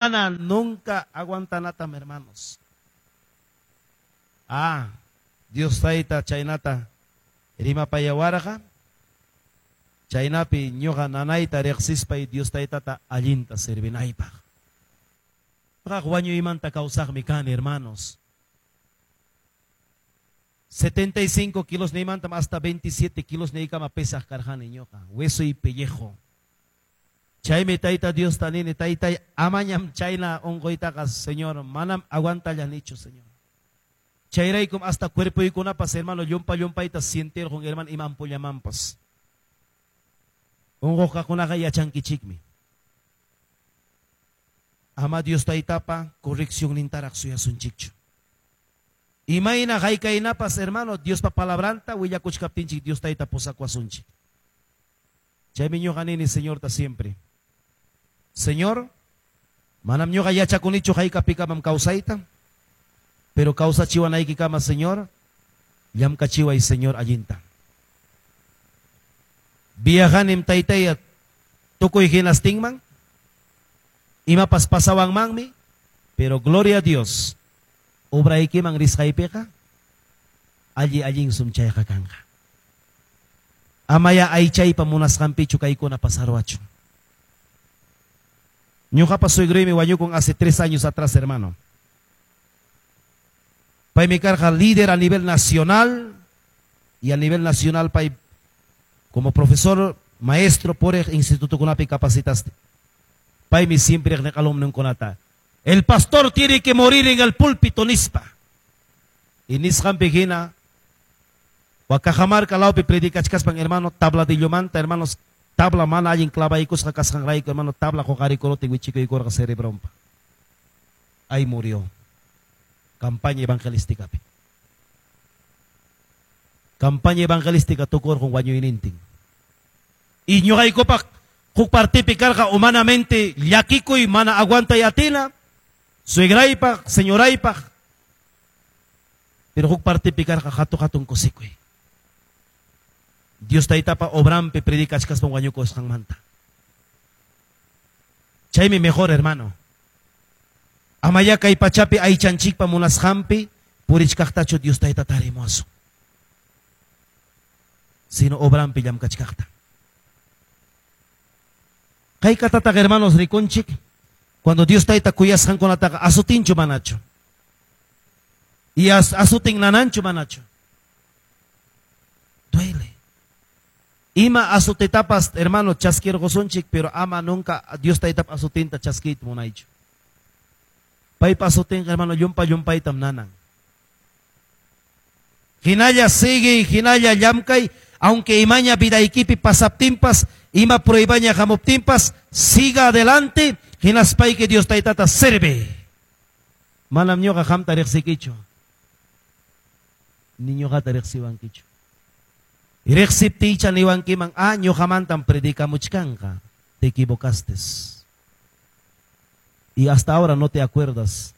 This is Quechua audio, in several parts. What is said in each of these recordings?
Mana nunca aguantanatam, hermanos. Ah, Dios Tayta chaynata rimapayawarqa, chaynapi ñuqa nanayta riqsispay Dios Taytata allinta servinaypaq. Ñuqaqa wañuymanta kawsaqmi kani, hermanos. 75 kilos niymantam hasta 27 kilos niykama pesaq karqani ñuqa, hueso y pellejo. Chaymi Tayta Diosta nini, Taytay, amañam chayna unquytaqa, Señor, manam aguantallanichu, Señor. Chayraykum hasta cuerpoykunapas, hermano, llumpa llumpayta sientirqun, hermano, imampullamanpas. Unquqkunaqa yachankichikmi. Ama Dios Taytapa correccionnintaraq suyasunchikchu. Imayna haykaynapas, hermano, Diospa palabranta willakuchkaptinchik Dios Tayta pusakuwasunchik. Chaymi ñuqa nini, Señorta siempre. Señor, manam ñuqa yachakunichu haykapikamam kawsayta, pero kawsachiwanaykikama, Señor, llamkachiway, Señor, allinta. Viajanim Taytaya tukuy hinastinman, imapas pasawanmanmi, pero gloria a Dios, obraykiman risqaypiqa, alli allinsum chayqa kanqa. Amaya aychaypa munasqanpichu kaykuna pasarwachun. Ñuqapa suegroymi wañukun hace 3 años atrás, hermano. Paymi karqa líder a nivel nacional y a nivel nacional pay como profesor, maestro por instituto kunapi capacitaste. Paymi siempre niq alumnunkunata. El pastor tiene que morir en el púlpito nispa. Y nisqanpi hina Cajamarca lawpi predicachkaspan, hermano, tabladillomanta, hermanos, tabla mana allin clavaykusqa kasqanrayku, hermano, tabla huqarikurutin wichikuykurqa cerebrompa. Ahí murió. Campaña evangelística. Campaña evangelística tukurqun wañuynintin. Y ñuqaykupaq huk partipi karqa humanamente llakikuy mana aguantay atina, suegraypaq, señoraypaq, pero huk partipi karqa hatu hatun kusikuy. Dios Taytapa obrampi predicachkaspan wañukusqanmanta. Chaymi mejor, hermano. Amaya kay pachapi aychanchikpa munasqanpi purichkaqtachu Dios Tayta tarimuwasun. Sino obrampi llamkachkaqta. Kaykatataq, hermanos, rikunchik, cuando Dios Tayta kuyasqankunataqa asutinchu manachu. Y asutin nananchu manachu. Duele. Ima azutetapas, hermano, chaskirqusunchik, pero ama nunca Dios Taytap azutinta chaskiyta munaychu. Paypa azutinqa, hermano, llumpa llumpaytam nanan. Hinalla sigue, hinalla llamkay, aunque imaña vidaykipi pasaptinpas, ima pruebaña hamuptinpas, siga adelante, hinaspayki Dios Taytata serve. Manam ñuqa qamta riqsikichu. Ni ñuqata riqsiwankichu. Riqsiptiycha niwankiman, ah, ñuqamantam predicamuchkanqa. Te equivocaste. Y hasta ahora no te acuerdas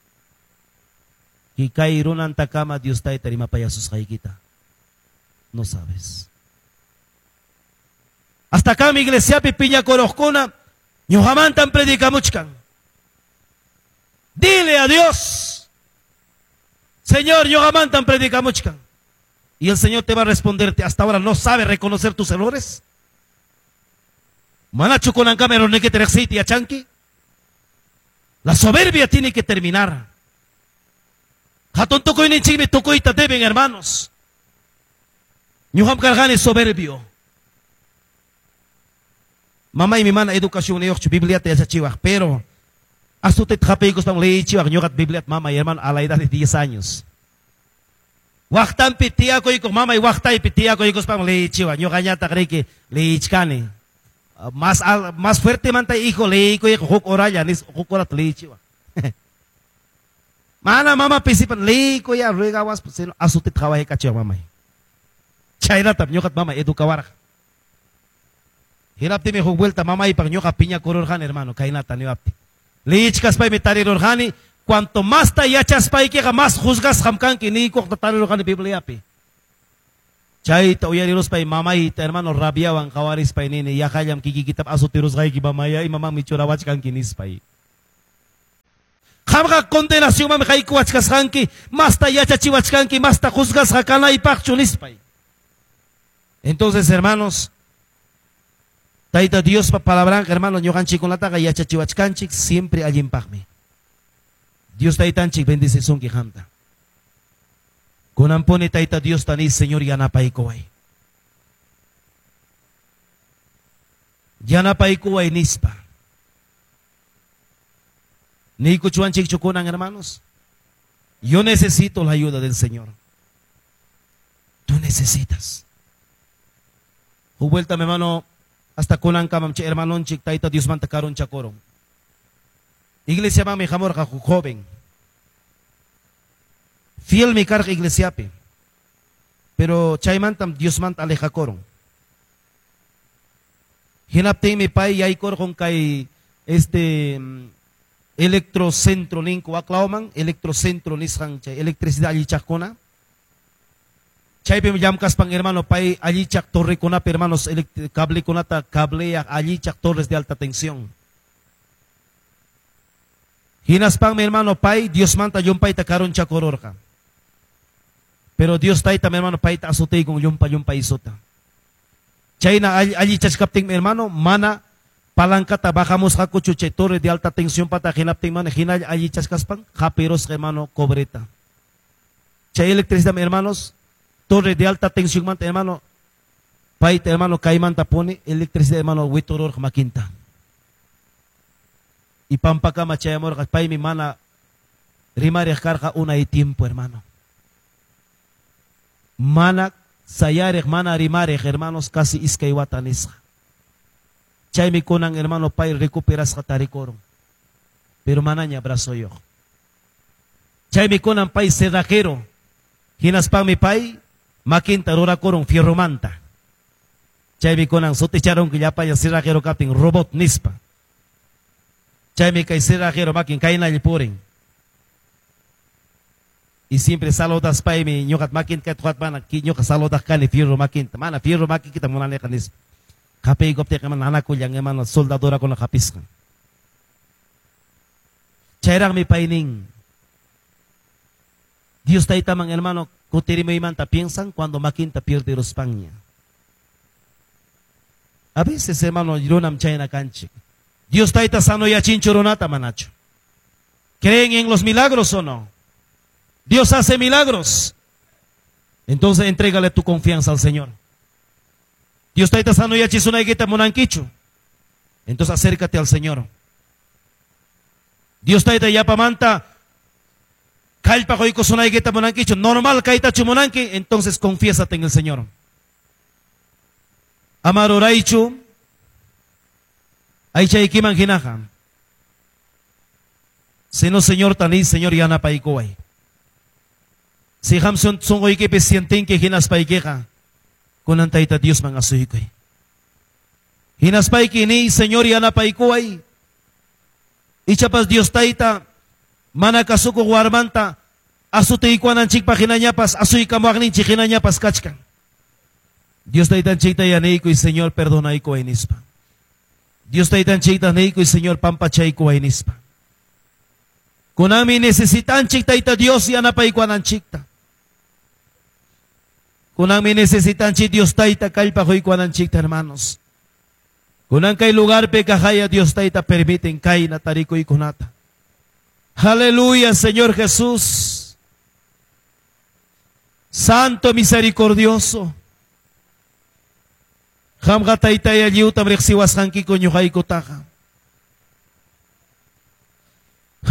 que kay runantakama Dios Tayta rimapayasusqaykita. No sabes. Hasta acá mi iglesiapi piñakuruqkuna ñuqamantam predicamuchkan. Dile a Dios, Señor, ñuqamantam predicamuchkan. Y el Señor te va a responderte, hasta ahora no sabe reconocer tus errores. Manachu kunankama errornikita riqsiyta yachanki. La soberbia tiene que terminar. Hatun tukuyninchikmi tukuyta deben, hermanos. Ñuqam karqani soberbio. Mamaymi mana educacionniyuqchu Bibliata yachachiwaq, pero azoteta hapiykuspan leyichiwaq ñuqata Bibliata mamay, hermano, a la edad de 10 años. Waqtanpi tiyakuykuq mamay waqtaypi tiyakuykuspan leyichiwaq, ñuqañataq riki leyichkani. Más fuertemanta hijo leykuyqa huk horalla, nis huk horata leyichiwaq. Mana mama pisipan leykuya ruegawaspa, sino azoteta qhawaykachiwaq mamay. Chaynatam ñuqata mamay educawarqa. Hinaptimi huk vuelta mamaypaq ñuqa piñakururqani, hermano, kaynata niwaptin. Leyichkaspaymi tarirurqani, cuanto masta yachaspaykiqa más juzgasqam kanki niykuqta tarirurqani Bibliapi. Chayta uyariruspay mamayta, hermano, rabiawan qhawarispay nini, yaqallam kikikitap azotirusqayki mamaya, imamanmi churawachkanki nispay. Qamqa condenacionmanmi haykuwachkasqanki, masta yachachiwachkanki, masta juzgasqa kanaypaqchu nispay. Entonces, hermanos, Tayta Diospa palabranqa, hermano, ñuqanchikkunataqa yachachiwachkanchik siempre allinpaqmi. Dios Taytanchik bendecisunki qamta. Kunanpuni Tayta Diosta niy, Señor, yanapaykuway. Yanapaykuway nispa. Niykuchuwanchikchu kunan, hermanos? Yo necesito la ayuda del Señor. Tú necesitas. Huk vuelta, mi hermano, hasta kunankamam chay hermanonchik Tayta Diosmanta karunchakurun. Iglesiamanmi hamurqa huk joven. Fielmi karqa iglesiapi. Pero chaymantam Diosmanta alejakurun. Hinaptinmi pay yaykurqun kay este electrocentro ninku waklawman, electrocentro nisqan chay electricidad allichaqkuna. Chaypim llamkaspan, hermano, pay allichaq torrekunapi, hermanos, cablekunata cableaq allichaq torres de alta tensión. Hinaspanmi, hermano, pay Diosmanta llumpayta karunchakururqa. Pero Dios Tayta, mi hermano, payta azutiykun llumpa llumpa isuta. Chayna allichachkaptinmi, hermano, mana palancata bajamusqakuchu chay torre de alta tensión pata hinaptin mana hinalla allichachkaspan hapirusqa, hermano, cobreta. Chay electricidad, hermanos, torre de alta tensión manta, hermano, payta, hermano, kaymanta pone electricidad, hermano, witururqa makinta. Y pampakama chayamurqa, paymi mana rimariq karqa unay tiempo, hermano. Mana sayariq, mana rimariq, hermanos, casi iskay wata nisqa. Chaymi kunan, hermano, pay recuperasqa tarikurun. Pero manaña brazoyuq. Chaymi kunan pay cerrajero. Hinaspanmi pay makinta rurakurun fierromanta. Chaymi kunan suticharon llapalla cerrajero kaptin robot nispa. Chaymi kay cerrajero makin kaynalla purin. Y siempre saludas paymi ñuqat makinta kay mana ñuqa saludaq kani fierro makinta. Mana fierro makinkita munaniqa nispa. Hapiykuptiqa mana nanakullan, hermano, soldadurakuna hapisqan. Chayraqmi pay nin. Dios Taytaman, hermano, kutirimuymanta piensan cuando makinta pierderuspaña. A veces, hermano, runam chayna kanchik. Dios Tayta sanoyachinchu runata manachu. ¿Creen en los milagros o no? Dios hace milagros. Entonces entrégale tu confianza al Señor. Dios Tayta sanoyachisunaykita munankichu. Entonces acércate al Señor. Dios Tayta yapamanta kallpa quykusunaykita munankichu, normal kaytachu munanki, entonces confiésate en el Señor. Amaruraychu aychaykiman hinaqa. Sino Señor tani, Señor yanapaykuway. Si qam sunquykipi sientinki hinaspaykiqa, kunan Tayta Diosman asuykuy. Hinaspayki niy, Señor yanapaykuway. Ichapas Dios Tayta mana kasukuq warmanta asutiykuwananchikpaq hinañapas asuykamuwaqninchik hinañapas kachkan. Dios Taytanchikta yaniykuy, Señor perdonaykuway nispa. Dios Taytanchikta niykuy, Señor pampachaykuway nispa. Kunanmi necesitanchik Tayta Dios yanapaykuwananchikta. Kunanmi necesitanchik Dios Tayta kallpa quykuwananchikta, hermanos. Kunan kay lugarpi kaqaya Dios Tayta permiten kayna tarikuykunata. Aleluya, Señor Jesús. Santo misericordioso. Qamqa Taytaya lliwtam riqsiwasqankiku ñuqaykutaqa.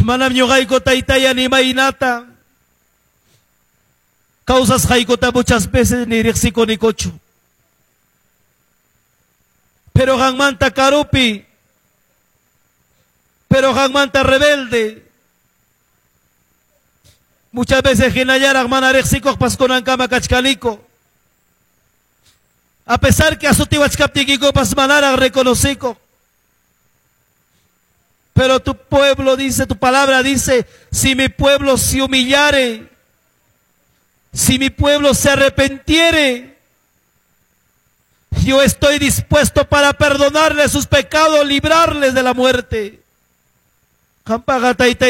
Manam ñuqayku Taytaya ni imaynata kawsasqaykuta muchas veces ni riqsikunikuchu. Pero qanmanta karupi, pero qanmanta rebelde. Muchas veces hinallaraq mana riqsikuqpas kunankama kachkaniku. A pesar que asutiwachkaptiykikupas manaraq reconocico. Pero tu pueblo dice, tu palabra dice, si mi pueblo se humillare, si mi pueblo se arrepentiere, yo estoy dispuesto para perdonarles sus pecados, librarles de la muerte.